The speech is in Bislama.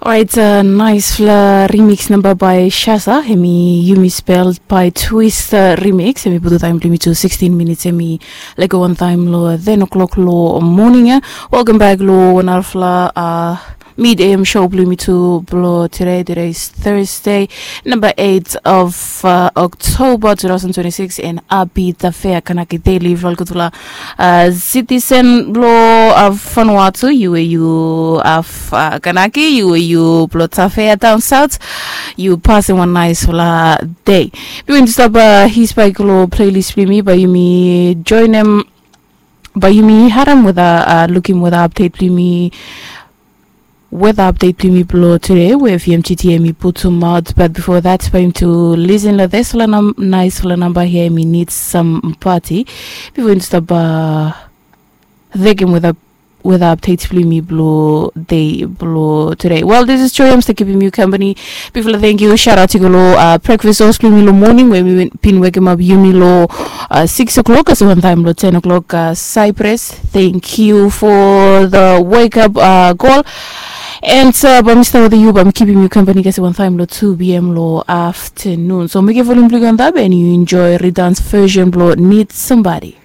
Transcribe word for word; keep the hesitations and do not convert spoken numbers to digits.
Orait, naispela remix namba bai Shasa, hemi Yumi Spel bai Twist remix, hemi putum taim bilong yumi tu sixteen minutes, hemi lego wantaim long ten o'clock long moning ya. Welcome back long wanarafela mid am show bilong yumi tu bilong today. Today is Thursday, number eight of October two thousand twenty-six, and happy Tafea Kanaki Day long yufala olgutfala citizen bilong Vanuatu. Yu we yu have Kanaki, yu we yu bilong Tafea down south, yu pasim wan naispela day. Bihain dispela his bai go long playlist bilong yumi, bai yumi joinem, bai yumi harim weda, lukim weda update bilong yumi, weda update bilong yumi bilong today we V M G T M i putum aut. But before that, bai yumi tu listen long dispela naispela namba hia, mi need some party before yumi stap thekim weda weda update bilong yumi bilong day bilong today. Well, this is Joy, I'm still keeping you company. Bifala, thank you, shout out to go long breakfast host bilong yumi long morning we mi bin wekimap yumi long six o'clock, as one time long ten o'clock. Cypress, thank you for the wake up call. And bai mi stap wetem yu, bai mi kipim yu company kasi one time long two p m long afternoon. So mekim volume bilong yu antap and yu enjoy Redance version bilong Need Somebody.